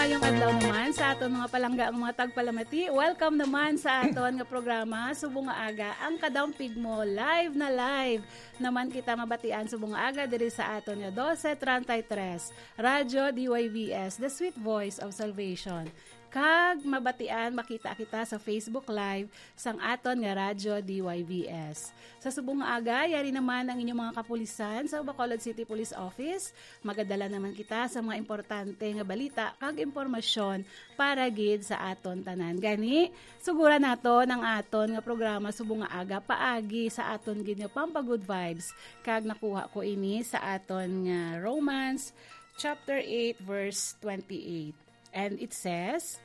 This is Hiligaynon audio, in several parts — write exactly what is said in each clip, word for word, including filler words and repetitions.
Maayong adlaw naman sa aton mga palangga ang mga tagpalamati. Welcome naman sa aton nga programa, Subong nga Aga, ang Kadampig Mo. Live na live naman kita mabatian subong nga aga diri sa aton nga dose treinta y tres, Radyo D Y V S, The Sweet Voice of Salvation. Kag mabatian, makita kita sa Facebook Live sang aton nga Radyo D Y V S. Sa subong nga aga, yari naman ang inyong mga kapulisan sa Bacolod City Police Office. Magadala naman kita sa mga importante nga balita kag impormasyon para gid sa aton tanan. Gani, suguran naton ang aton nga programa subong nga aga paagi sa aton gid nga Pampa Good Vibes. Kag nakuha ko ini sa aton nga Romans chapter eight, verse twenty-eight. And it says,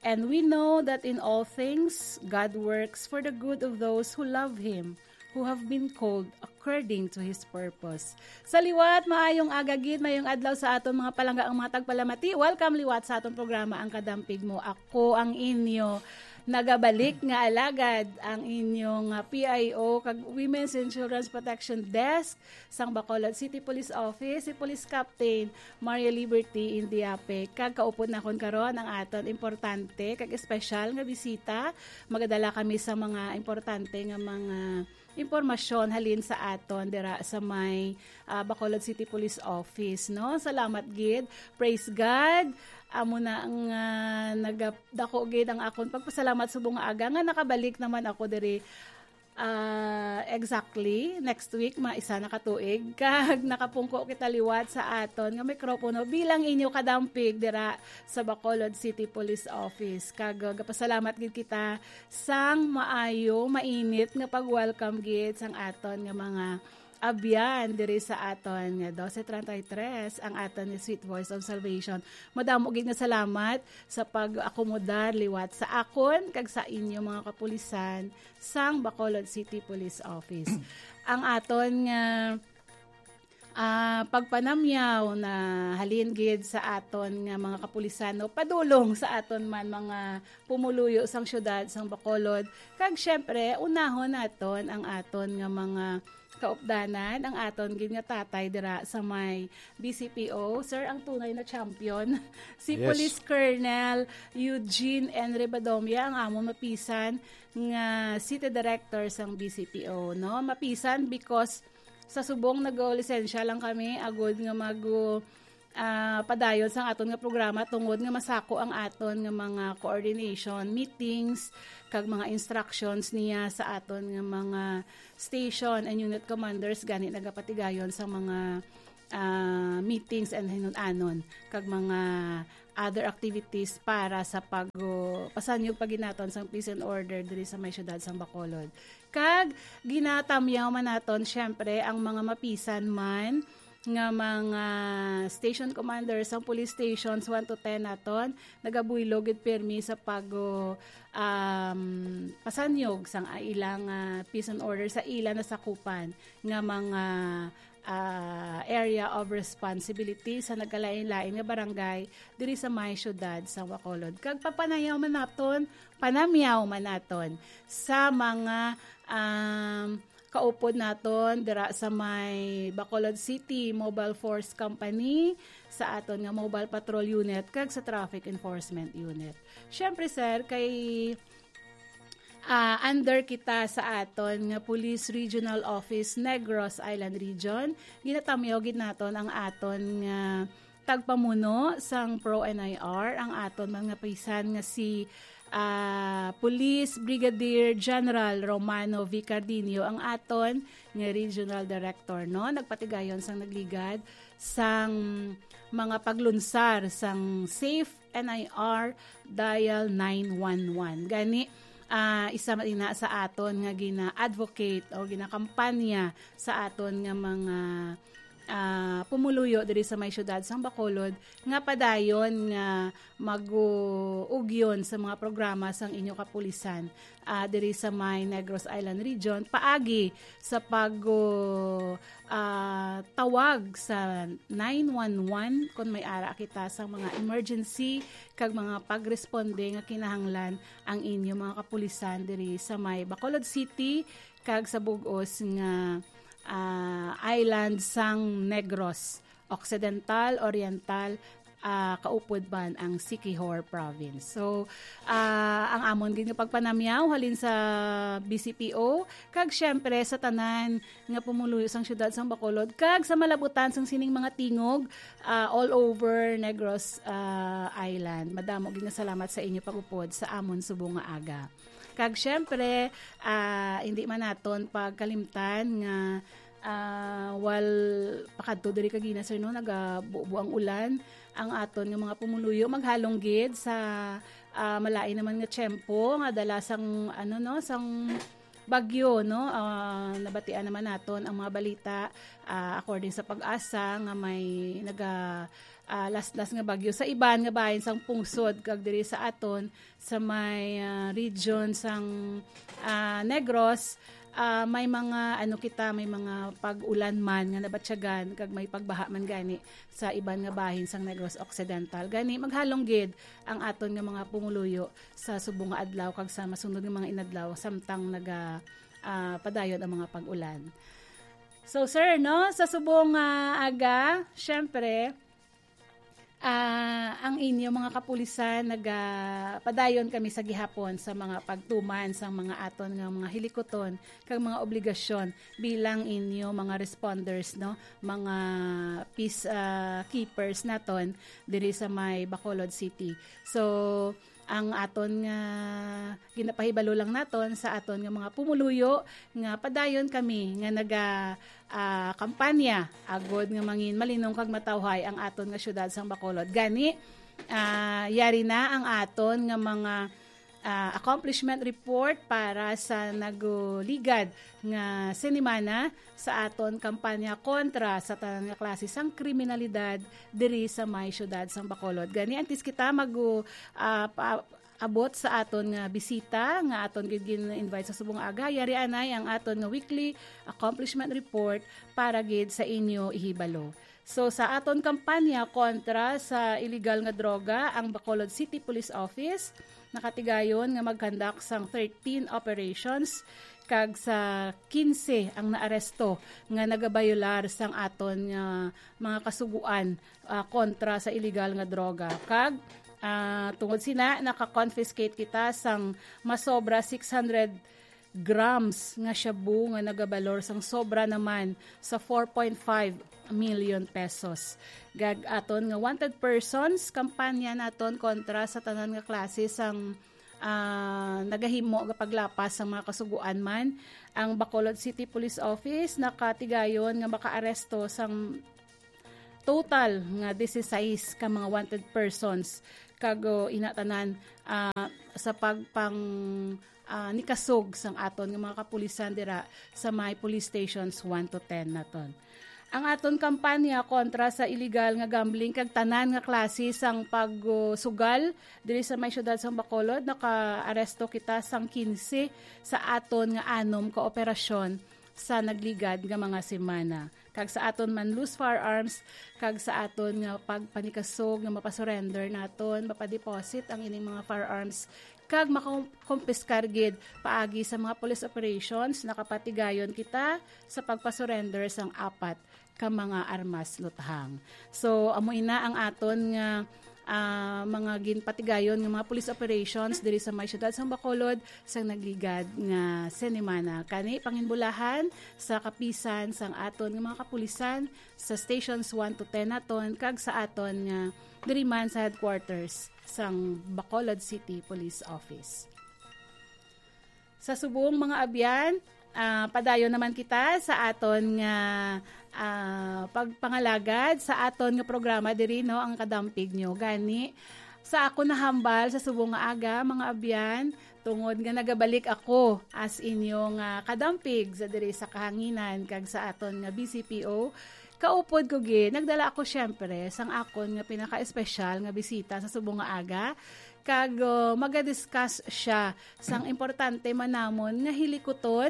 "And we know that in all things God works for the good of those who love Him, who have been called according to His purpose." Sa liwat, maayong aga gid, maayong adlaw sa aton mga palangga ang mga tagpalamati. Welcome liwat sa aton programa, Ang Kadampig Mo. Ako ang inyo nagabalik nga alagad, ang inyong, ah, P I O kag Women's and Children's Protection Desk sang Bacolod City Police Office, si Police Captain Mario Liberty Indiape. Kag kaupod nakon karon ang aton importante kag espesyal nga bisita. Magadala kami sa mga importante nga mga impormasyon halin sa aton dira sa may, ah, Bacolod City Police Office, no? Salamat gid. Praise God. Amo na nga nagadako gid ang akon pagpasalamat subong nga aga nga nakabalik naman ako diri. Ah, exactly, next week, ma-, isa na ka tuig, kag nakapungko kita liwat sa aton nga mikropono bilang inyo kadampig dira sa Bacolod City Police Office. Kag, uh, gapasalamat gid kita sang maayo, mainit nga pag-welcome gid sang aton nga mga abyan diri sa aton nga dose treinta y tres, ang aton nga Sweet Voice of Salvation. Madamo gid nga salamat sa pag-akomodar liwat sa akon kag sa inyo mga kapulisan sang Bacolod City Police Office. Ang aton nga, ah, pagpanamyaw na halin gid sa aton nga mga kapulisan, no, padulong sa aton man mga pumuluyo sang siyudad sang Bacolod, kag siyempre, unahon naton ang aton nga mga kaupdanan, ang aton gid nga tatay dira sa may B C P O, sir, ang tunay na champion, si Yes. Police Colonel Eugene N. Rebadomia, ang amon mapisan nga City Director sang B C P O, no? Mapisan because sa subong nagalisensya lang kami, agud nga mag-, ah, padayon sang aton nga programa tungod nga masako ang aton nga mga coordination meetings kag mga instructions niya sa aton nga mga station and unit commanders gani nagapatigayon sa mga, ah, meetings and hinun-anon kag mga other activities para sa pag-, pasanyog pa gid naton sang peace and order diri sa may siyudad sang Bacolod. Kag ginatamyaw man naton, syempre, ang mga mapisan man nga mga station commanders sang police stations one to ten naton, nagabuylog gid pirmi sa pag-, um, pasanyog sang ilang, ah, peace and order sa ila nasakupan nga mga, ah, area of responsibility sa nagkalain-lain nga barangay diri sa may siyudad sa Bacolod. Kag pagpanayaw man naton, panamyaw man naton sa mga, um, kaupod naton dira sa may Bacolod City Mobile Force Company, sa aton nga Mobile Patrol Unit, kag sa Traffic Enforcement Unit. Siyempre, sir, kay, ah, under kita sa aton nga Police Regional Office, Negros Island Region, ginatamyaw gid naton ang aton nga tagpamuno sang Pro N I R, ang aton mga pisan nga si, ah, Police Brigadier General Romano V. Cardinio, ang aton nga Regional Director, no? Nagpatigayon sang nagligad sang mga paglunsar sang Safe N I R Dial nine one one. Gani, ah, isa man ina sa aton nga gina-advocate o ginakampanya sa aton nga mga, ah, pumuluyo diri sa may siyudad sang Bacolod nga padayon nga mag-ugyon sa mga programa sang inyo kapulisan, ah, diri sa may Negros Island Region paagi sa pag, ah, tawag sa nine one one kon may ara kita sa mga emergency kag mga pagresponde nga kinahanglan ang inyo mga kapulisan diri sa may Bacolod City kag sa bug-os nga, ah, island sang Negros Occidental, Oriental, ah, kaupod man ang Siquijor Province. So, ah, ang amon gid nga pagpanamyaw halin sa B C P O, kag siyempre sa tanan nga pumuluyo sang siyudad sang Bacolod, kag sa malabutan sang sining mga tingog, ah, all over Negros, ah, Island. Madamo gid nga salamat sa inyo pag-upod sa amon subong nga aga. Kag siyempre, ah, hindi man naton pagkalimtan nga, ah, wal pakadto diri kagina, sir, no, nagabubo ang ulan. Ang aton nga mga pumuluyo maghalong gid sa, ah, malain naman nga tiyempo nga dala sang, ano, no, sang bagyo, no. Ah, nabatian naman naton ang mga balita, ah, according sa PAGASA, nga may naga, ah, laslas nga bagyo sa iban nga bahin sang pungsod, kag diri sa aton sa may, ah, region sang, ah, Negros, ah, may mga, ano, kita, may mga pag-ulan man nga nabatyagan kag may pagbaha man gani sa iban nga bahin sang Negros Occidental. Gani, maghalong gid ang aton nga mga pumuluyo sa subong nga adlaw kag sa masunod nga mga inadlaw samtang naga, ah, padayon ang mga pag-ulan. So, sir, no, sa subong nga aga, syempre, ah, ang inyo mga kapulisan, nagapadayon kami sa gihapon sa mga pagtuman sang mga aton nga mga hilikuton kag mga obligasyon bilang inyo mga responders, no, mga peace, ah, keepers naton diri sa may Bacolod City. So, ang aton nga ginapahibalo lang naton sa aton nga mga pumuluyo nga padayon kami nga naga, ah, kampanya agod nga mangin malinong kag matawhay ang aton nga siyudad sang Bacolod. Gani, ah, yari na ang aton nga mga, ah, accomplishment report para sa naguligad nga sinimana sa aton kampanya kontra sa tanan nga klase sang kriminalidad diri sa may siyudad sang Bacolod. Gani, antes kita mag, ah, pa-, abot sa aton nga bisita nga aton gid gin-invite sa subong aga, yari anay ang aton nga weekly accomplishment report para gid sa inyo ihibalo. So, sa aton kampanya kontra sa iligal nga droga, ang Bacolod City Police Office nakatigayon nga mag-conduct sang thirteen operations, kag sa quince ang naaresto nga nagabayolar sang aton nga mga kasugoan, ah, kontra sa iligal nga droga. Kag, ah, tungod sina, naka-confiscate kita sang masobra six hundred grams nga shabu nga nagabalor sang sobra naman sa four point five million pesos. Kag aton nga wanted persons, kampanya naton kontra sa tanan nga klase sang, ah, nagahimo nga paglapas sang mga kasugoan man. Ang Bacolod City Police Office nakatigayon nga makaaresto sang total nga disisais ka mga wanted persons, kag, oh, ina tanan, ah, sa pagpang, ah, nikasog sang aton nga mga kapulisan dira sa may police stations one to ten naton. Ang aton kampanya kontra sa iligal nga gambling kag tanan nga klase sang pagsugal diri sa may siyudad sang Bacolod, nakaaresto kita sang quince sa aton nga anom ka operasyon sa nagligad nga mga semana. Kag sa aton man loose firearms, kag sa aton nga pagpanikasog nga mapasurrender naton, mapadeposit ang ining mga firearms, kag makompiskar gid paagi sa mga police operations, nakapatigayon kita sa pagpasurrender sang apat ka mga armas luthang. So, amo ina ang aton nga, ah, mga ginpatigayon nga mga police operations diri sa may siyudad sang Bacolod sang nagligad nga senimana. Kani panginbulahan sa kapisan sang aton nga mga kapulisan sa stations one to ten naton kag sa aton nga diri man sa headquarters sang Bacolod City Police Office. Sa subong, mga abyan, ah, padayon naman kita sa aton nga, ah, pagpangalagad sa aton nga programa diri, no, ang Kadampig Nyo. Gani, sa ako nahambal sa subong nga aga, mga abyan, tungod nga nagabalik ako as inyo nga kadampig sa diri sa kahanginan kag sa aton nga B C P O, kaupod ko gid, nagdala ako, siyempre, sang akon nga pinaka-espesyal nga bisita sa subong nga aga, kag, uh, maga-discuss siya sang importante man namon nga hilikuton.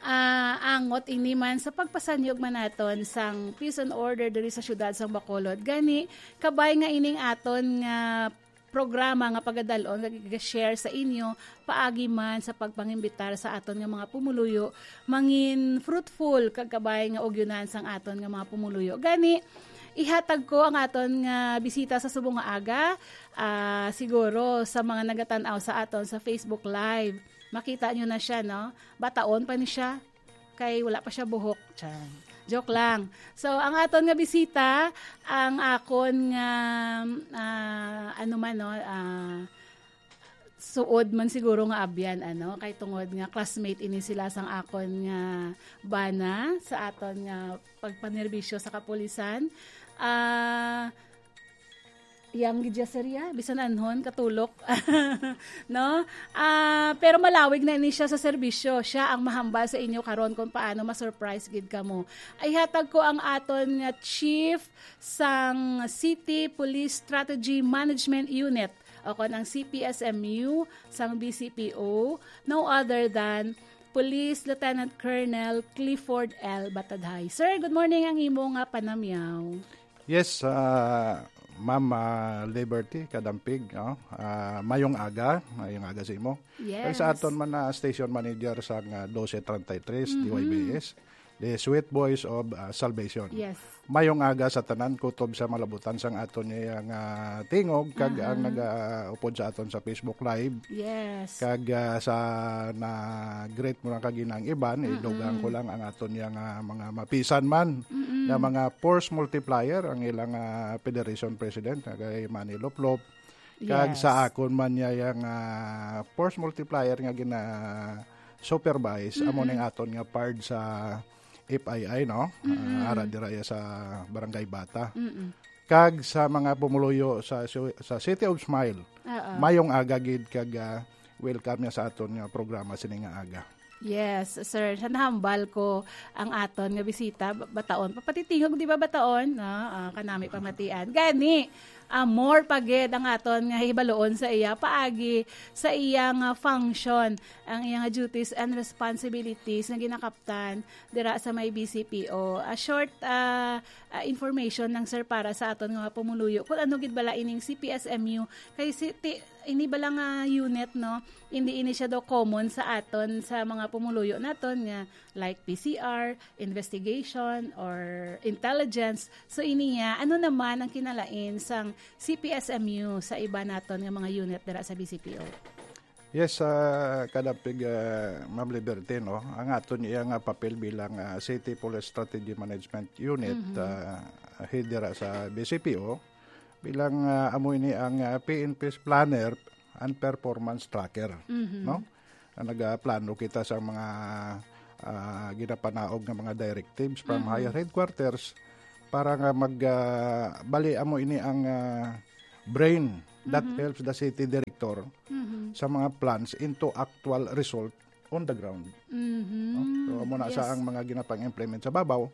Ah, angot ini man sa pagpasanyog man naton sang peace and order diri sa siyudad sang Bacolod. Gani, kabay nga ining aton nga programa nga pagadal-on kag iga-share sa inyo paagi man sa pagpangimbitar sa aton nga mga pumuluyo, mangin fruitful kag kabay nga ugyonan sang aton nga mga pumuluyo. Gani, Ihatag ko ang aton nga bisita sa subong nga aga. Ah, siguro sa mga nagatan-aw sa aton sa Facebook Live, makita nyo na siya, no? Bataon pa ni siya. Kay wala pa siya buhok. Chan. Joke lang. So, ang aton nga bisita, ang akon nga, ah, ano man, no? Ah, suod man siguro nga abyan, ano? Kay tungod nga classmate ini sila sang akon nga bana sa aton nga pagpanerbisyo sa kapulisan. Ah, yang gidya, sir, ya, bisan anhon, katulok. No? Ah, pero malawig na ini siya sa serbisyo. Siya ang mahambal sa inyo karon kung paano ma-surprise gid kamo. Ihatag ko ang aton nga chief sang City Police Strategy Management Unit, o kon ang C P S M U sang B C P O, no other than Police Lieutenant Colonel Clifford L Batadhay. Sir, good morning, ang imo nga panamyaw. Yes, ah, Ma'am, ah, Liberty Kadampig, no? Ah, mayong aga, mayong aga sa imo. Kag sa Yes. aton man na station manager sa nga twelve thirty-three, Mm-hmm. D Y B S, the Sweet Voice of, ah, Salvation. Yes. Mayong aga sa tanan, kutob sa malabutan sang aton niya nga tingog, kag ang Mm-hmm. nagaupod sa aton sa Facebook Live. Yes. Kag, ah, sa na-greet mo lang kag inang iban, Mm-mm. idugang ko lang ang aton niya nga mga mapisan man, Mm-mm. nga mga force multiplier, ang ilang, ah, Federation President, nga kay Manny Loplop. Kag Yes. sa akon man niya yang, ah, force multiplier nga gina-supervise, amo Mm-mm. ning aton nga PARD sa F I I, no? Mm-mm. Ah, ara dira ya sa Barangay Bata. Mm-mm. Kag sa mga pumuluyo sa su-, sa City of Smile, Oo. mayong aga gid kag, ah, welcome niya sa aton nga programa sini nga aga. Yes, sir. Sa nahambal ko ang aton nga bisita, ba-, bataon. Papatitingog, di ba, bataon? No? Ah, kanami pamatian. Gani, ah, more pa gid ang aton nga hibaluon sa iya paagi sa iya nga function, ang iya nga duties and responsibilities nga ginakaptan dira sa may B C P O. A short, ah, ah, information lang, sir, para sa aton nga mga pumuluyo. Kung ano gid bala ining C P S M U, kay si, ti-, ini bala nga unit, no? Hindi ini siya daw common sa aton, sa mga pumuluyo naton nga like P C R, investigation, or intelligence. So, ini niya, ano naman ang kinalain sang C P S M U sa iba naton nga mga unit dira sa B C P O? Yes, ah, kadapig, ah, Ma'am Liberty, no? Ang aton iya nga papel bilang, ah, City Police Strategy Management Unit, Mhm. ah, head dira sa B C P O, bilang, ah, amo ini ang, ah, P N P's planner and performance tracker, Mhm. no? Ang nagaplano kita sa mga, ah, ginapanaog nga mga directives from Mhm. higher headquarters para nga mag, ah, bali amo ini ang, ah, brain that Mhm. helps the city director Mhm. sa mga plans into actual result on the ground. Mhm. No? So, amo na Yes. sa ang mga ginapang-implement sa babaw.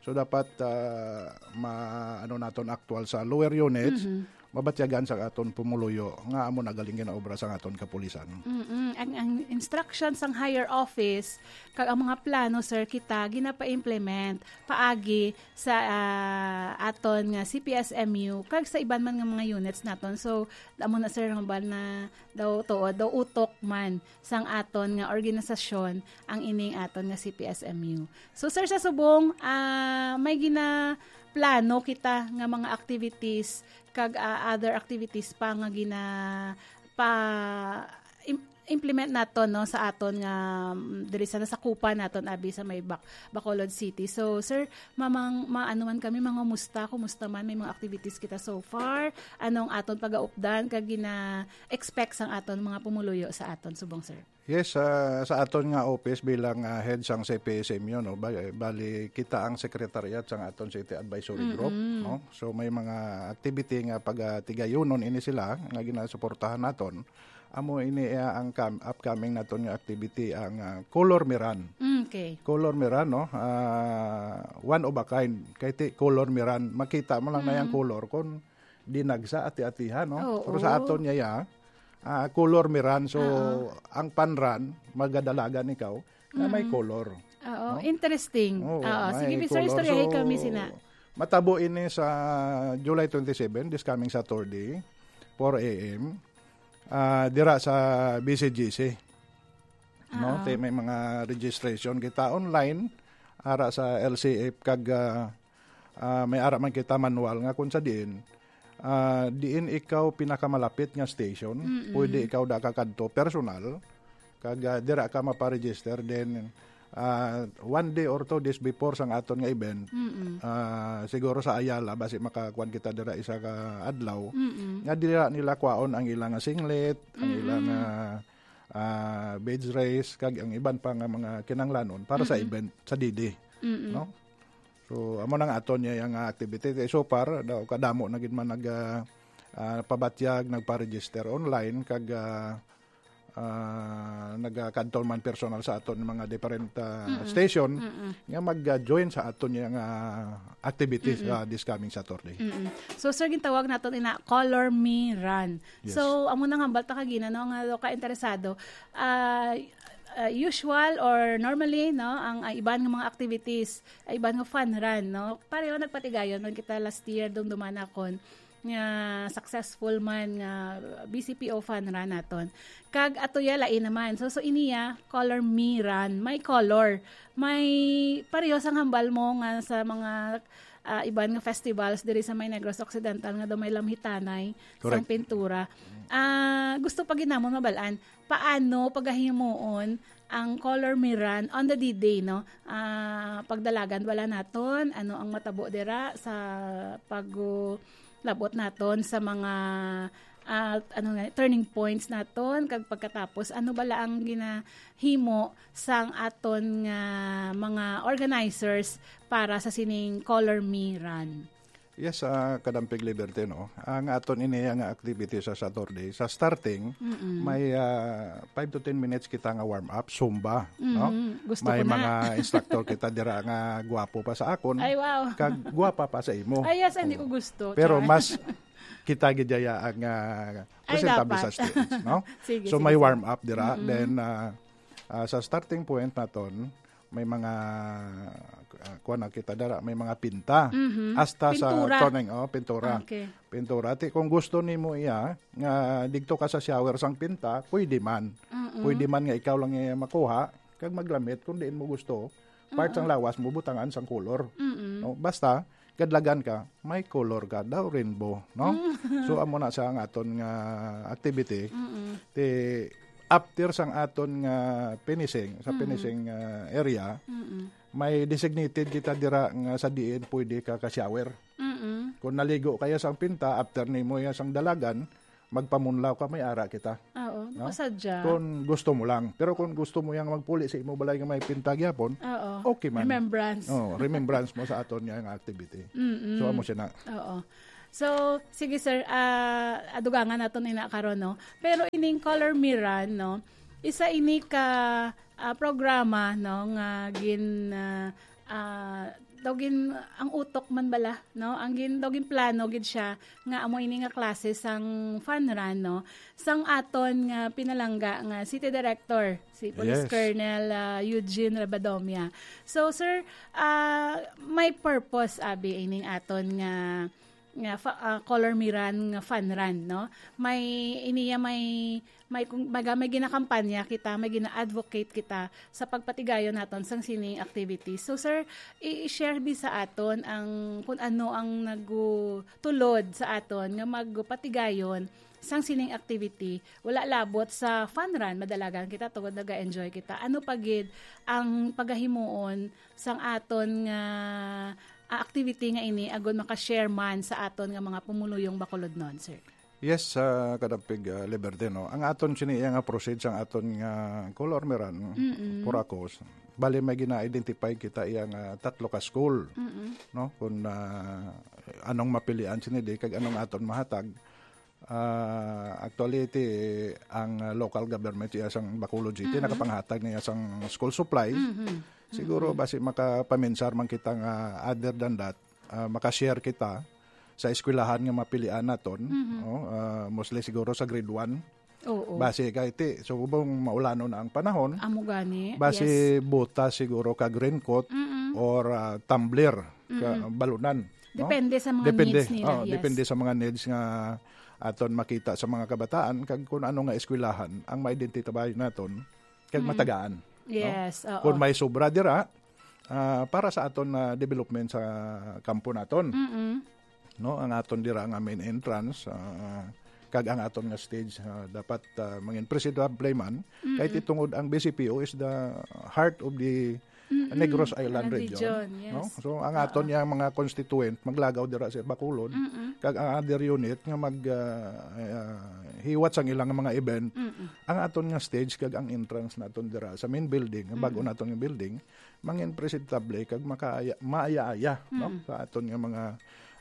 So, dapat, ah, ma-, ano naton actual sa lower units, Mhm. mabatyagan sa aton pumuluyo nga amo na galing ginaobra sa aton kapulisan. Mm-mm. Ang, ang instructions sang higher office, kag ang mga plano, sir, kita ginapa-implement paagi sa, ah, aton nga C P S M U, kag sa iban man nga mga units naton. So, amo na, sir, hambal na daw tuod, daw utok man sang aton nga organisasyon ang ining aton nga C P S M U. So, sir, sa subong, ah, may ginaplano kita nga mga activities kag, ah, other activities pa nga gina-, pa-, im-, implement naton, no, sa aton nga, mm, diri sa nasakupan naton abi sa may Bac-, Bacolod City. So, sir, mamang, maano man kami, mangumusta, kumusta man, may mga activities kita so far, ano ang aton pagaupdan kag gina-expect sang aton mga pumuluyo sa aton subong, sir? Yes, ah, sa aton nga office bilang, ah, head sang C P S M U, no, ba-, bali kita ang secretariat sang aton City Advisory Group, Mm-mm. no? So may mga activity nga pagatigayunon ini sila nga ginasuportahan naton. Amo ini, ah, ang kam-, upcoming naton nga activity, ang, ah, Color Miran. Mm, okay. Color Miran, no? Ah, one of a kind. Kay ti Color Miran, makita mo lang na yang Mm. color kon dinagsa, ati-atihan, no? Oo. Pero sa aton niya, ya, ah, color miran. So, Oo. ang panran, magadalagan ikaw na may Mm. color. Oo, No? interesting. Oo, Oo, may sige, Mister, color. istoryahi So, kami sina. matabo ini sa July twenty-seven, this coming Saturday, four A M, ah, dira sa B C G C. No? Oo. Te, may mga registration kita online, ara sa L C F kag, ah, Ah, may ara man kita manual nga kung sa diin, ah, diin ikaw pinakamalapit nga station, Mm-mm. pwede ikaw da ka kadto personal, kag, ah, dira ka maparegister, then, ah, one day or two days before sang aton nga event, Mm-mm. ah, siguro sa Ayala, basi makakuan kita dira isa ka adlaw, Mm-mm. nga dira nila kwaon ang ilang singlet, ang Mm-mm. ilang, ah, ah, beads race, kag ang iban pa nga mga kinanglanon para sa Mm-mm. event sa D D, Mm-mm. no? So, amo nang aton niya nga activity. Kay so far, daw kadamo na gid man nag, ah, ah, pabatyag, nagpa-register online, kag, ah, ah, nagakadto man personal sa aton mga different, ah, Mm-mm. station Mm-mm. nga mag-join sa aton niya nga activities Mm-mm. sa this coming Saturday. Mm-mm. So, sir, gintawag naton ina Color Me Run. Yes. So, amo nang hambal ta kagina, no, nga daw ka interesado. Ah, ah, usual or normally, no, ang, ah, iban nga mga activities, ah, iban nga fun run, no? Pareho nagpatigayon man kita last year, dumduman akon nga successful man nga B C P O fun run naton. Kag ato ya lain naman. So, so iniya, Color Me Run. May color. May pareho sang hambal mo nga sa mga, ah, iban nga festivals diri sa may Negros Occidental nga daw may lamhitanay sang Correct. pintura. Ah, gusto pa gid namon mabalaan, paano pagahimuon ang Color Me Run on the D-Day, no? Ah, pagdalagan bala naton, ano ang matabo dira sa pag-, labot naton sa mga, ah, ano nga, turning points naton, kag pagkatapos, ano bala ang ginahimo sang aton nga mga organizers para sa sining Color Me Run? Yes, ah, Kadampig Liberty, no? Ang aton ini nga activity sa Saturday, sa starting, Mm-mm. may, ah, five to ten minutes kita nga warm up, Zumba, no? Mm, gusto May ko na. mga instructor kita dira nga gwapo pa sa akon. Ay, wow. Kag gwapa pa sa imo. Ay, yes, hindi Oo. ko gusto. Pero Char. mas kita gid yaya ang, ah, I presentable love sa that. stage, no? Sige, So, sige, may sige. warm up dira. Mm-mm. Then, ah, ah, sa starting point naton, may mga, ah, kuwan na kita dara, may mga pinta. Mhm. Hasta sa Pintura. turning, oh, pintura. Okay. Pintura. Ti, kung gusto nimo iya, nga didto ka sa shower sang pinta, pwede man. Mm-mm. Pwede man nga ikaw lang iya makuha, kag maglamit kung diin mo gusto. Part sang Mm-mm. lawas mo, butangan sang color. Mm-mm. No? Basta, kadlagan ka, may color ka daw, rainbow, no? Mm. So, amo na sa ang aton nga activity. Mm-mm. Ti, after sang aton nga finishing, sa Mm-mm. finishing, ah, area, Mm-mm. may designated kita dira nga sa diin pwede ka ka-shower. Mm-mm. Kung naligo kaya sang pinta, after nimo ya sang dalagan, magpamunlaw ka, may ara kita. Oo, No? nakasadya. Kung gusto mo lang. Pero kung gusto mo yang magpuli sa imo balay nga may pinta gyapon, Oo. okay man. Remembrance. Oh, remembrance mo sa aton nga nga activity. Mm-mm. So, amo siya na. Oo. So, sige, sir, ah, adugangan naton ina karon, no? Pero ining Color Me Run, no? Isa ini ka, ah, programa, no, nga gin, ah, ah, daw gin, ang utok man bala, no? Ang gin, daw gin plano gid siya nga amo ini nga klase sang fun run, no? Sang aton nga pinalangga nga City Director, si Police Yes. Colonel, ah, Eugene Rabadomia. So, sir, ah, may purpose, abi, ining aton nga, nga fa-, ah, Color Me Run nga fun run, no? May, iniya may, may, kung baga, may ginakampanya kita, may gina-advocate kita sa pagpatigayon naton sang sining activities. So, sir, i-, i-share bi sa aton ang, kung ano ang nagtulod sa aton nga magpatigayon sang sining activity. Wala labot sa fun run, madalagan kita tungod naga-enjoy kita. Ano pa gid ang pagahimuon sang aton nga, ah, activity nga ini agud maka-share man sa aton nga mga pumuluyong Bacolodnon, sir? Yes, ah, Kadampig, ah, Liberty, no? Ang aton sini iya nga proceed sang aton nga Color Me Run, Mm-mm. Puracos. Bali, may gina-identify kita iya nga tatlo ka school, Mm-mm. no? Kung, ah, anong mapilian sini di, kag anong aton mahatag. Ah, actually, ti, ang, ah, local government iya sang Bacolod City, Mm-mm. nakapanghatag niya sang school supply. Mm-hmm. Siguro, Mm-mm. basi makapaminsar man kita nga other than that, ah, makashare kita sa eskwelahan nga mapilian naton, Mhm. no? Ah, mostly siguro sa grade one. Oo. Basi kay ti, subong maulanon na ang panahon. Amo gani, Basi yes. butas siguro kag raincoat Mm-mm. or, ah, tumbler, ka, Mm-mm. balunan, no? Depende sa mga Depende, needs nila, oh, yes. depende sa mga needs nga aton makita sa mga kabataan kag kung ano nga eskwelahan ang ma-identify naton kag Mm. matagaan, no? Yes, oo. Kung may sobra dira, ah, para sa aton na development sa kampo naton. Mm-mm. No, ang aton dira nga main entrance, ah, kag ang aton nga stage, ah, dapat, ah, mangin presentable man, kay Mm-mm. titungod ang B C P O is the heart of the Mm-mm. Negros Island Island region, region, no? Yes. So, ang Oo. aton yang mga constituent maglagaw dira sa Bacolod, Mm-mm. kag ang other unit nga mag, ah, ah, hiwat sang ilang mga event, Mm-mm. ang aton nga stage kag ang entrance naton dira sa main building, ang bag-o Mm-mm. naton nga building, mangin presentable kag makaaya, maaya-aya, no? Mm. Sa aton nga mga,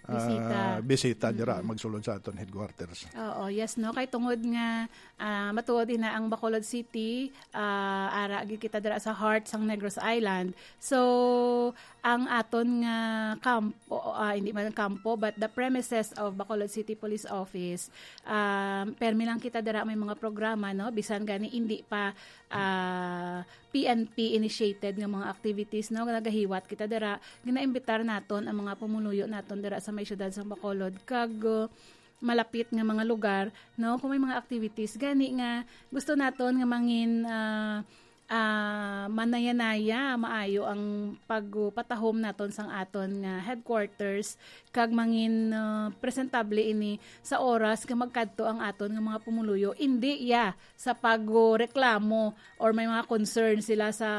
ah, Bisita. bisita dira Mm. magsulod sa aton headquarters. Oo, yes, no? Kay tungod nga, ah, matuod ina ang Bacolod City, ah, ara gid kita dira sa heart sang Negros Island. So, ang aton nga kampo, ah, hindi man kampo, but the premises of Bacolod City Police Office, um, permi lang kita dira may mga programa, no? Bisan gani hindi pa, ah, P N P initiated nga mga activities, no, nga nagahiwat kita dira, ginaimbitar naton ang mga pumuluyo naton dira sa may siyudad sang Bacolod kag, uh, malapit nga mga lugar, no, kung may mga activities gani nga gusto naton nga mangin, ah, ah, manayanaya, maayo ang pagpatahom naton sang aton nga headquarters kag mangin, ah, presentable ini sa oras nga magkadto ang aton nga mga pumuluyo. Indi ya sa pagreklamo or may mga concern sila sa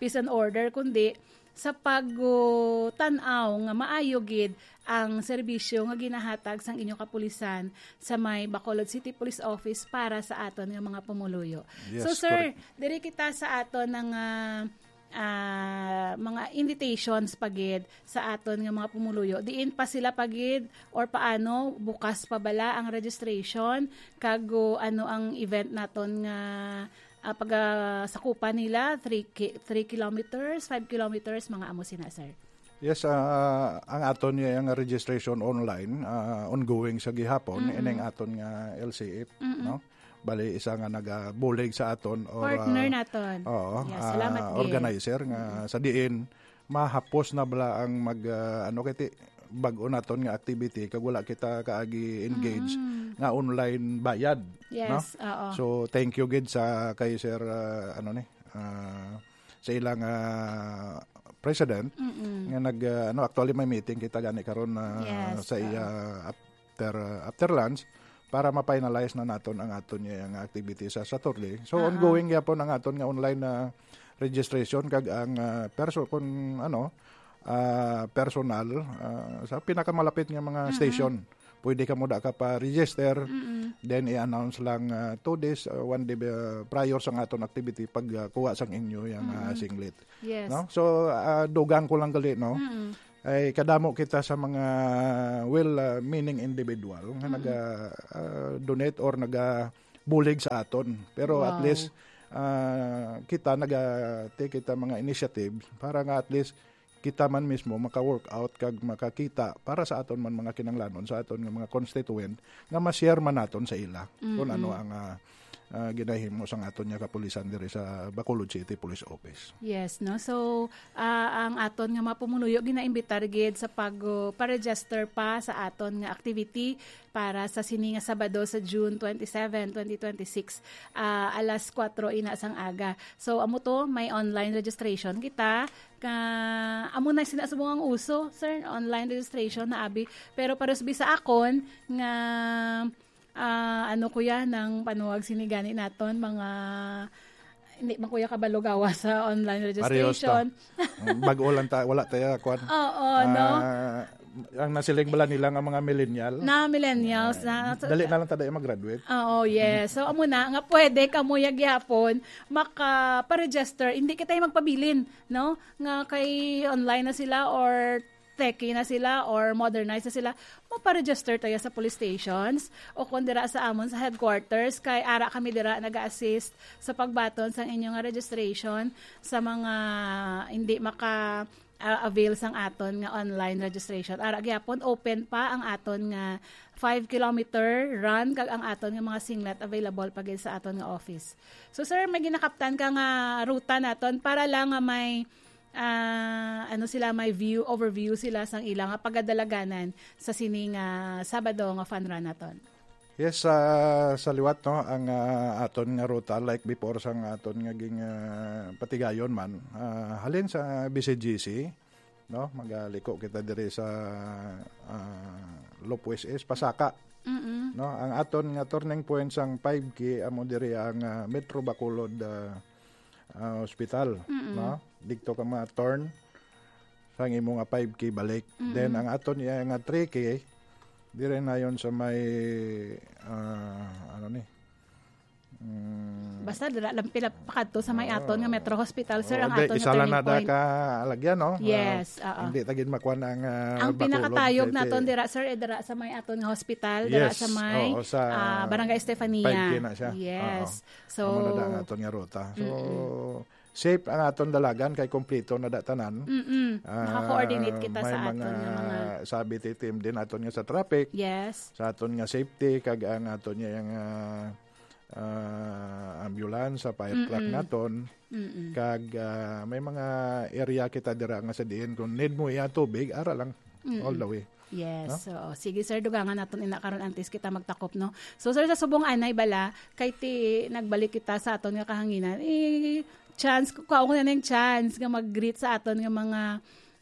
peace and order, kundi sa pagtan-aw nga maayo gid ang serbisyo nga ginahatag sang inyo kapulisan sa may Bacolod City Police Office para sa aton nga mga pumuluyo. Yes, So, sir, correct. diri kita sa aton nga, ah, mga invitations pa gid sa aton nga mga pumuluyo. Diin pa sila pa gid or paano, bukas pa bala ang registration? Kag, uh, ano ang event naton nga, ah, pagasakupan nila? Three ki-, three kilometers, five kilometers, mga amo sina, sir? Yes, ah, ang aton nga, nga registration online, ah, ongoing sa gihapon, Mm-mm. ining aton nga L C F, Mm-mm. no? Bali, isa nga nagabulig sa aton or, Partner ah, naton. oo, Yes, ah, salamat gid. organizer nga Mm-mm. sa diin mahapos na bala ang mag, ah, ano kay ti-, bag-o naton nga activity kag wala kita kaagi engage Mm. nga online bayad, no? Yes, oo. So, thank you gid sa kay Sir, ah, ano ni, ah, sa ilang, ah, president Mm-mm. nga nag, ah, ano, actually may meeting kita gani karon, ah, Yes, sa oo. iya after, ah, after lunch para ma-finalize na naton ang aton nga activity sa Saturday. So, Oo. ongoing gyapon ang aton nga online na registration kag ang, ah, perso-, kun ano, ah, personal, ah, sa pinakamalapit nga mga Mm-mm. station, pwede kamo da ka pa-register, Mm-mm. then i-announce lang, ah, two days, ah, one day, ah, prior sa aton activity pag, ah, kuha sang inyo yang, ah, Mm-mm. singlet. Yes. No? So, ah, dugang ko lang gali, no? Mm-mm. Ay kadamo kita sa mga well, ah, meaning individual nga Mm-mm. naga, ah, donate or naga bulig sa aton. Pero at Wow. least, ah, kita naga take kita mga initiative para nga at least kita man mismo maka-work out kag makakita para sa aton man mga kinahanglanon sa aton nga mga constituent nga ma-share man naton sa ila kung Mm-mm. ano ang, ah, ah, ginahimo sang aton nga kapulisan diri sa Bacolod City Police Office. Yes, no? So, ah, ang aton nga mga pumuluyo ginaimbitar gid sa pag, uh, pa-register pa sa aton nga activity para sa sini nga Sabado sa June twenty-seven, twenty twenty-six, ah, alas kuwatro ina sang aga. So, amo to, may online registration kita. Ka, amo na sina subong ang uso, sir, online registration na abi. Pero pares bisa akon nga, ah, ano, kuya, nang panuwag sini gani naton, mga, hindi man, kuya, kabalo gawa sa online Parehas ta. registration. Ang bago lang ta, wala tayo, kwan. Oo, no? Ah, ang nasiling bala nila nga mga millennial. Na millennials, na, so, Dali na lang ta dahil mag-graduate. Oo, yes. So, amo na, nga pwede kamo ya gyapon makaparegister. Hindi kita yung magpabilin, no? Nga kay online na sila or techie na sila or modernized na sila, maparegister tayo sa police stations o kung dira sa amon sa headquarters, kay ara kami dira nag-assist sa pagbaton sa inyong registration sa mga hindi maka, ah, avail sang aton nga online registration. Ara gyapon, open pa ang aton nga five kilometer run kag ang aton nga mga singlet available pa gid sa aton nga office. So, sir, may ginakaptan ka nga ruta naton para lang nga may, ah, ano sila, may view, overview sila sang ila nga pagadalaganan sa sini nga Sabado nga fun run naton. Yes, ah, sa liwat, no, ang, ah, aton nga ruta, like before, sang aton nga ging, ah, patigayon man, ah, halin sa B C G C, no, magaliko kita diri sa, ah, Loop West East, Pasaka. Mm-mm. No, ang aton nga turning point sang five K amo diri ang, ah, Metro Bacolod, ah, ah, Hospital, Mm-mm. no? Didto ka ma-turn sang imo nga five K balik. Mm-mm. Then ang aton iya nga three K, diri na yon sa may, ah, ano ni? Mm. Basta dira lang pila pakadto sa may Oo. aton nga Metro Hospital, sir, Oo, ang di, aton nga isa lang turning na da point. ka alagyan, no? Ah, Yes, oo. hindi ta gid makuha ang, ah, Ang Bacolod pinakatayog City. naton dira, sir, eh, dira sa may aton nga hospital, dira Yes, sa may, oo, sa ah, Barangay Estefania. five K na siya. Yes. Oo. So, Amo na da ang aton nga ruta. So, Mm-mm. safe ang aton dalagan kay kompleto na da tanan. Mm-mm. Ah, Naka-coordinate kita may sa aton mga nga mga sabi ti team din aton nga sa traffic, Yes. sa aton nga safety, kag ang aton nga, ah, ah, ambulance, sa fire truck Mm-mm. naton. Mm-mm. Kag, ah, may mga area kita dira nga sa diin kung need mo iya tubig, ara lang. Mm-mm. All the way. Yes. No? So, sige, sir, dugangan naton ina karon antes kita magtakop, no? So, sir, sa subong anay bala, kay ti nagbalik kita sa aton nga kahanginan, eh, chance, kuhaon ko na ning chance nga mag-greet sa aton nga mga,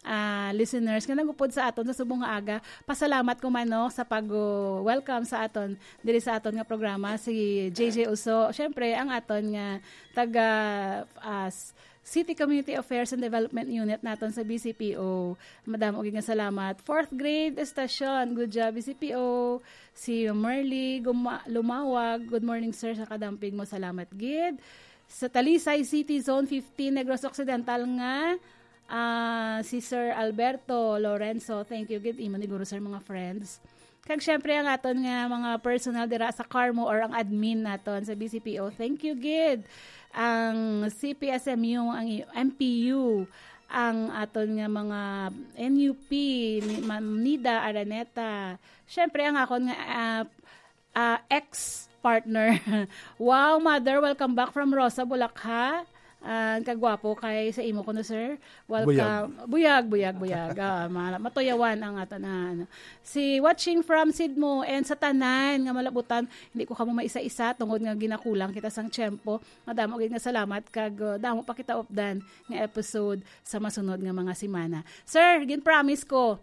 ah, listeners nga nagupod sa aton sa subong nga aga. Pasalamat ko man, no, sa pag, uh, welcome sa aton diri sa aton nga programa, si J J Uso. Siyempre, ang aton nga taga, ah, s-, City Community Affairs and Development Unit naton sa B C P O. Madamo gid nga salamat. Fourth grade estasyon, good job, B C P O. Si Merly Guma-, Lumawag, good morning, sir, sa kadampig mo. Salamat gid. Sa Talisay City, Zone fifteen, Negros Occidental nga, ah, si Sir Alberto Lorenzo. Thank you gid, imo ni guro, sir, mga friends. Kag syempre, ang aton nga mga personnel dira sa Carmo or ang admin naton sa B C P O, thank you gid. Ang C P S M U, ang I-, M P U, ang aton nga mga N U P, ni Ma'am Nida Araneta. Syempre, ang akon nga, ah, ah, ex-partner. Wow, mother, welcome back from Rosa, Bulacan. Ah, kagwapo kay sa imo kuno, sir. Welcome. Buyag, buyag, buyag. Ah, ma-, matuyawan ang ato na, ano. Si watching from Sidmo and sa tanan nga malabutan, hindi ko kamo maisa-isa tungod nga ginakulang kita sang tiyempo. Madamo gid nga salamat kag, uh, damo pa kita updan nga episode sa masunod nga mga semana. Sir, gin-promise ko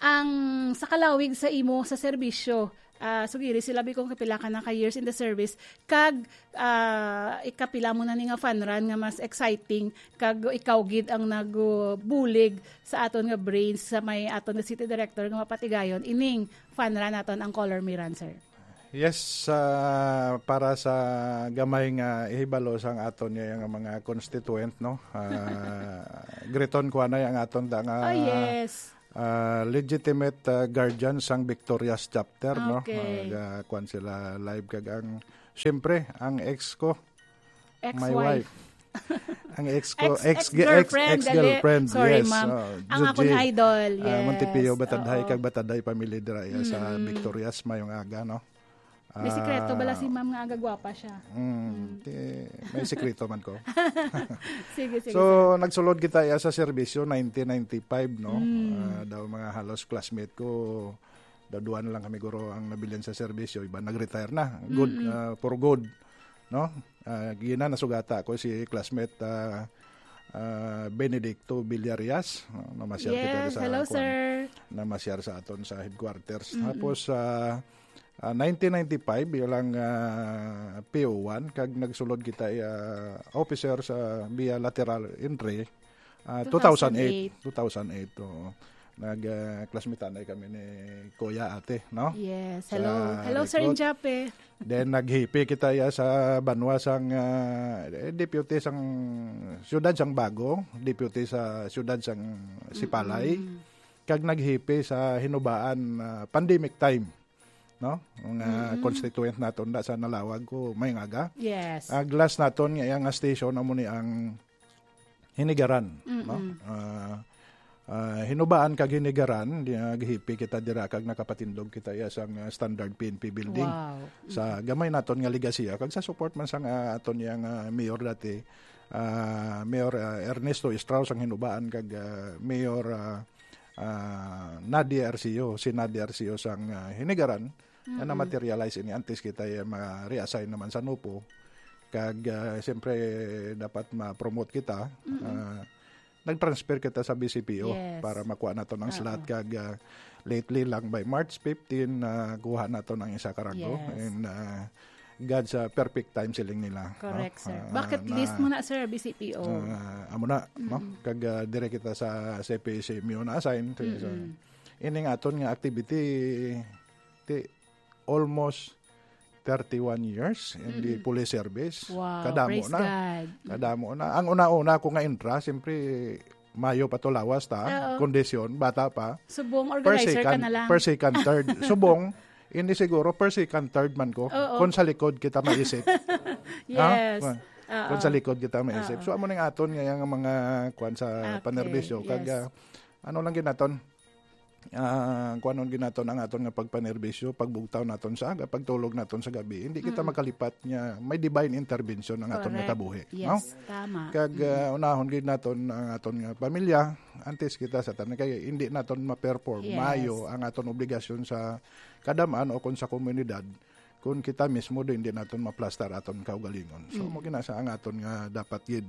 ang sa kalawig sa imo sa serbisyo, ah, sugiri sila bi kung kapila ka na ka years in the service, kag, ah, ikapila mo na ni nga fun run nga mas exciting, kag ikaw gid ang nagbulig sa aton nga brains sa may aton nga city director nga mapatigayon ining fun run naton ang Color Me Run, sir. Yes, ah, para sa gamay nga ihibalo sang aton nga, nga mga constituent, no? Ah, greeton ko anay ang aton da nga, Ah, yes. ah, legitimate, ah, guardian sang Victorious chapter, no? Okay. Mag, ah, kuwan sila live kag ang, siyempre, ang ex ko, my Ex-wife. wife. Ang ex ko, Ex, ex, ex-girlfriend, ex, ex-girlfriend, gali. Sorry, yes. ma'am. Oh, Ang akong Juji, idol, ah, Montipio, yes. Batadhay, Oo. kag Batadhay family dira, yeah, sa Mm. Victorious, mayong aga, no? May sikreto bala Ah, si ma'am nga aga gwapa siya? mm, Mm. ti-, may sikreto man ko. Sige, sige, So, sir. nagsulod kita, yeah, sa serbisyo nineteen ninety-five, no? Mm. Ah, daw mga halos classmate ko, daw duwa na lang kami guro ang nabilin sa serbisyo, iba nag-retire na. Good, Mm-mm. ah, for good, no? Ah, gina nasugata ko si classmate, ah, ah, Benedicto Villarias, no? Namasyar kita Yes, sa hello, kuwan. sir. Namasyar sa aton sa headquarters. Mm-mm. Tapos, ah, ah, nineteen ninety-five, ilang, ah, P O one, kag nagsulod kita, ah, officer sa via lateral entry, ah, Two thousand eight. two thousand eight. Two thousand eight, oo. Nag, ah, classmate anay kami ni Kuya Ate, no? Yes. Sa Hello. Hello, Sir recruit. Injape. Then, naghipi kita, ya, sa banwa sang, ah, eh, deputy sang siyudad sang Bago, deputy sa siyudad sang Sipalay, Mm-mm. kag naghipi sa Hinubaan, ah, pandemic time, no? Mga Mm-mm. constituent naton da sa Nalawag ko, may ngaga. Yes. Ang last naton nga, nga station, amo ni ang Hinigaran, no? Mm-mm. Ah, ah, Hinubaan kag Hinigaran, di, ah, gihipi kita dira kag nakapatindog kita iya sang, ah, standard P N P building. Wow. Sa Mm-mm. gamay naton nga legasiya, kag sa support man sang, ah, aton yang, ah, mayor dati, ah, Mayor, ah, Ernesto Estrao sang Hinubaan kag, ah, Mayor, ah, ah, Nadia Arceo, si Nadia Arceo sang, ah, Hinigaran, Nga Mm-mm. na-materialize ini antes kita, eh, ma-reassign naman sa NOPO. Kag, ah, siyempre, dapat ma-promote kita. Mm-mm. Ah, nag-transfer kita sa B C P O Yes. para makuha nato ng slot. Oo. Kag, ah, lately lang, by March fifteen, na kuha nato ng isa ka rango. Yes. And, ah, God's, ah, perfect time siling nila, no? Correct, sir. Ah, Bucket na, list mo na, sir, B C P O. ah, amo na, no? Mm-mm. Kag, ah, dire kita sa C P C M U na-assign. So, Mm-mm. ining aton nga activity, ti, almost thirty-one years in the Mm-mm. police service. Wow, Kadamo praise na. God. Kadamo na. Ang una-una ko nga intra, siyempre, mayo pa to lawas ta, Oo. kondisyon, bata pa. Subong Per organizer ka second, na lang. per second, third. Subong, hindi siguro, per second, third man ko. Oo. Kung sa likod kita maisip. Ha? Yes. Kung, Oo. kung sa likod kita maisip. Oo. So, amo ning aton nga yung mga kwan sa Okay. panerbisyo. Kag, Yes. ah, ano lang ginaton? Ah, kuanon ginaton ang aton nga pagpanerbisyo, pagbugtaw naton sa aga, pagtulog naton sa gabi. Hindi kita Mm. makalipat nga may divine intervention ang aton nga Correct. kabuhi, Yes, no? tama. Kag, Mm. ah, unahon gid naton ang aton nga pamilya, antes kita sa tanan, kay hindi naton ma-perform Yes. maayo ang aton obligasyon sa kadam-an o kung sa komunidad, kung kita mismo din, hindi naton maplastar aton kaugalingon. So, Mm. mo gina sa ang aton nga dapat gid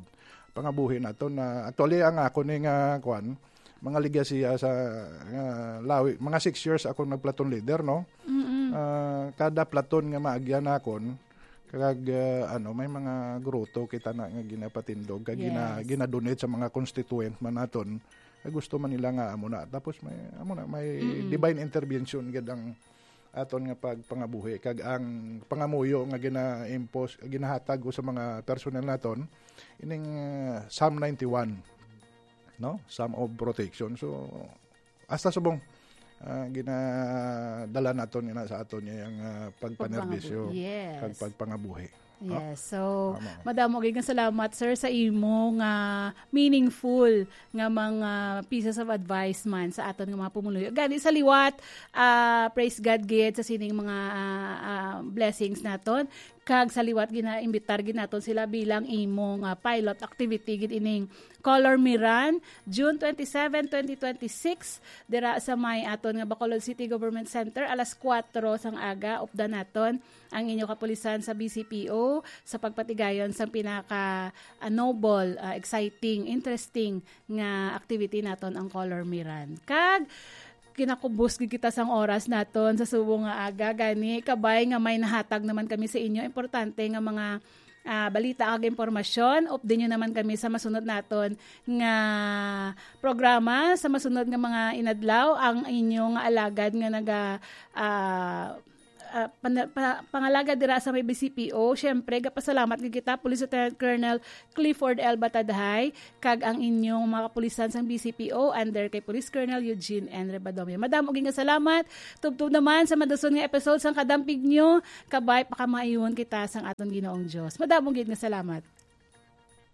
pangabuhi naton na, actually, ang ako ni nga, kwan, mga ligasiya sa, nga lawi, mga six years ako nag-platoon leader, no? Mm-mm. Ah, kada platoon nga maagyan nakon, kag, ah, ano, may mga gruto kita na nga ginapatindog, kag gina-, Yes. gina-donate sa mga constituent man naton, nga gusto man nila nga amo na. Tapos may, amo na, may Mm-mm. divine intervention gid ang aton nga pagpangabuhi, kag ang pangamuyo nga gina-impose, ginahatag ko sa mga personnel naton, ining, ah, Psalm ninety-one, no? Psalm of protection. So, hasta subong, ah, ginadala naton ina sa aton nga yang, ah, pagpanerbisyo Pagpangabu-, yes. kag pagpangabuhi. No? Yes. So, Tama. madamo gid nga salamat, sir, sa imo nga meaningful nga mga pieces of advice man sa aton nga mga pumuluyo. Gani sa liwat, ah, praise God gid sa sining mga, ah, ah, blessings naton. Kag sa liwat, ginaimbitar gid naton sila bilang imo nga pilot activity gid ining Color Me Run, June twenty-seven, twenty twenty-six, dira sa may aton nga Bacolod City Government Center, alas kuwatro sang aga, updan naton ang inyo kapulisan sa B C P O sa pagpatigayon sang pinaka, ah, noble, ah, exciting, interesting nga activity naton, ang Color Me Run. Kag kinakubos gid kita sang oras naton sa subong nga aga, gani kabay nga may nahatag naman kami sa inyo importante nga mga, ah, balita kag impormasyon. Update nyo naman kami sa masunod naton nga programa, sa masunod nga mga inadlaw. Ang inyo nga alagad nga naga, ah, ah, pana-, pa-, pangalagad dira sa may B C P O. Siyempre, gapasalamat gid kita, Police Lieutenant Colonel Clifford L. Batadhay, kag ang inyong mga kapulisan sang B C P O under kay Police Colonel Eugene N. Rebadomia. Madamo gid nga salamat. Tubtob naman sa madason nga episode sang Kadampig Nyo. Kabay, pakamaayuhon kita sang aton Ginoong Dios. Madamo gid nga salamat.